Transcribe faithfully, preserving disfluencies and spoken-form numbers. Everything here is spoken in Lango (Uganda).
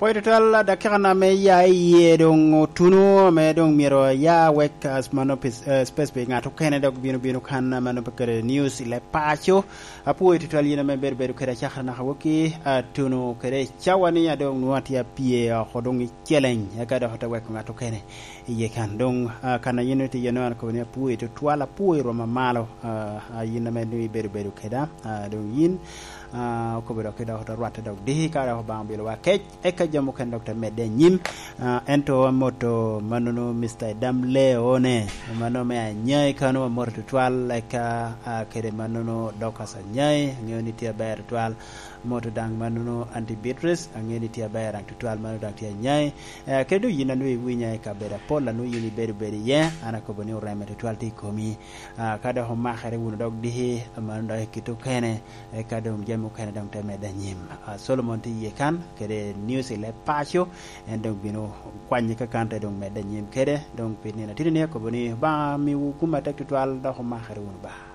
Pwod tutwal, dakika na me ya iye doŋ otuno, ame doŋ myero aya wek, ah, mano pe-, eh, space pe ŋat okene dok bino, bino kan, ah, mano pe kede news i leb paco. Apwoyo tutwal yin ame bedo, bedo kede acakere naka wokki, atuno kede cawa ni a doŋ nwoŋo atye apye oko doŋ i celeng, eka dok ote weko ŋat okene iye kan. Doŋ, ah, kan a yin itye iye-nu, an akobo ni apwoyo tutwal, apwoyo rwoma malo, ah, ah, yin ame doŋ ibedo, bedo keda, ah, doŋ yin, ah, okobo dok i dok ote rwatte dok diki ka dok Obaŋa obilowa kec, eka jami okene dok te medde anyim. Ah, ento amoto mannono Mister Edam Leone, mano me Anyai kano amoto tutwal, eka, ah, kede mannono Dorcas Anyai, aŋeo ni tye aber tutwal. Amoto daŋ mannono Aunty Beatrice, aŋeo ni tye aber daŋ tutwal, mano daŋ tye Anyai. Eh, kede doŋ yin a nwoŋo iwinya i kabedo apol, a nwoŋo yin ibedo bedo iye, an akobo ni oreme tutwal tye i komi. Ah, ka dok omakere wunu dok diki, mano dok i kite okene, eka doŋ jami okene doŋ te medde anyim. Ah, Solomon tye iye kan, kede news i leb paco, en doŋ bino kwanye ka kan te doŋ medde anyim kede, doŋ pi nino atidi ni akobo ni Obaŋa miwu gum atek tutwal, dok omakere wunu ba.